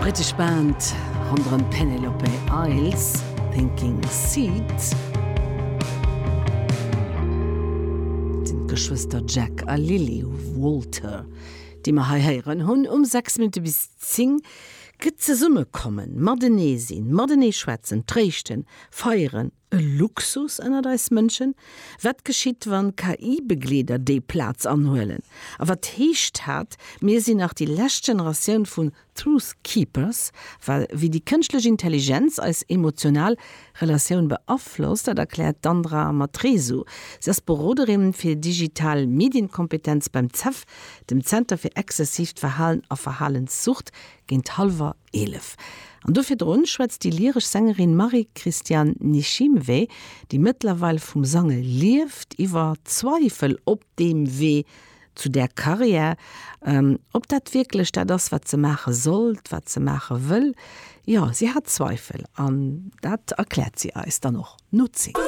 Brittesch Band ronderëm d'Penelope Isles, Thinking Seed. Et sinn d'Geschwëster Jack a Lily Walter, déi mer hei héieren hunn. Um 6 Minutte bis 10 gëtt zesummekommen, matenee sinn, matenee schwätzen, tréischten, feieren, E Luxus ënnert eis Mënschen? Wat geschitt, wann KI-Begleeder déi Plaz anhuelen? A wat heescht hat, mir sinn nach déi lescht Generatioun vun Truth Keepers? Well wéi déi kënschtlech Intelligenz eis emotional Relatioun beaflosst, dat erkläert d'Andra Matresu. Si ass Beroderin fir digital Medienkompetenz beim CEF, dem Zenter fir exzessiivt Verhalen a Verhalenssucht, géint hallwer 11. An do virdrun schwätzt déi lyresch Sängerin Marie-Christiane Nishimwe, déi mëttlerweil vum Sange lieft, iwwer Zweifel op deem Wee zu där Karriär, ob dat wierklech dat ass, wat se maache sollt, wat se maache wëll. Jo, si hat Zweifel an dat erkläert si eis dann och no 10.